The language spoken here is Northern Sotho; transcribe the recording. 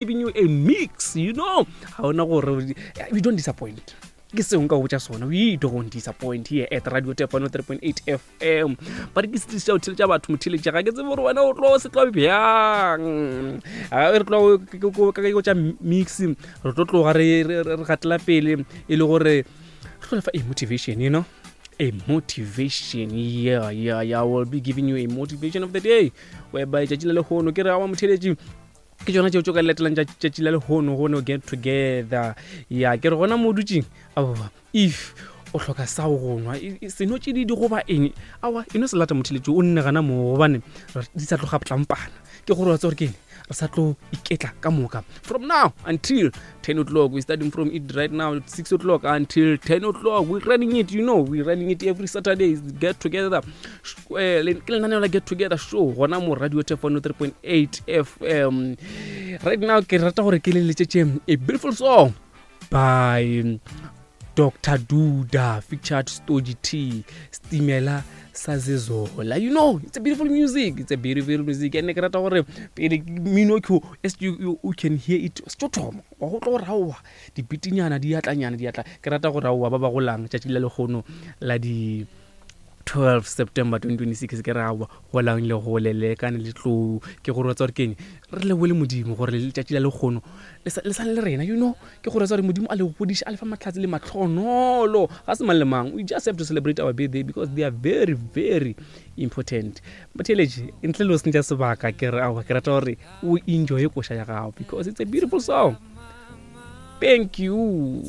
Giving you a mix, you know. Ga ona gore we don't disappoint. Ke seo nka botša sona, we don't disappoint here at Radio Tefano 3.8 FM. Ba re ke se tliša o theletša batho motheletša, ga ke tsebe gore wena o tlo se tlo bjang. A re tlo ka ke tša mix, re tlo tloga re re gatela pele e le gore re tlo lefa a motivation, you know. A motivation, yeah, I will be giving you a motivation of the day, whereby tšatši la lehono ke re awa motheletši ke tšona tšeo tšo ka latelang tšatši la lehono go no get together. Ya ke re gona mo dutšeng, aowa, if o hloka sa go nwa seno tšididi goba eng, aowa, e no se lata motheletši o nne gana moo, gobane di sa tloga tlampana. Ke gore wa tse gore ke eng, re sa tlo iketla ka moka from now until 10 o'clock. We starting from it right now, 6 o'clock until 10 o'clock. We running it, you know, we running it every Saturday. Get together, eh, ke lenaneo la Get Together Show gona mo Radio Tefano 3.8 FM. Right now ke rata gore ke le letšetše a beautiful song by Dr Duda featured Stogie T, Stimela Sazezola. You know, it's a beautiful music, it's a beautiful music. And ke rata gore pele mmino ke as you can hear it, se tlo thoma wa go tlo raowa dipitinyana di atlanyana di atla. Ke rata go raowa ba ba golang tšatši la lekgono la di 12 September 2026. Ke raowa golang le gole le kane le tlou, ke gore wa tsa gore keng, re lebole Modimo gore letšatši la lekgono le sa le rena, you know. Ke gore tsa gore Modimo a le godiše, a le fa matlhatsi le matlhonolo. Ga se mang le mang, we just have to celebrate our birthday because they are very, very important. Motheeletši, ntle le go sentša sebaka, ke re aowa, ke rata gore o enjoye koša ya gago because it's a beautiful song. Thank you.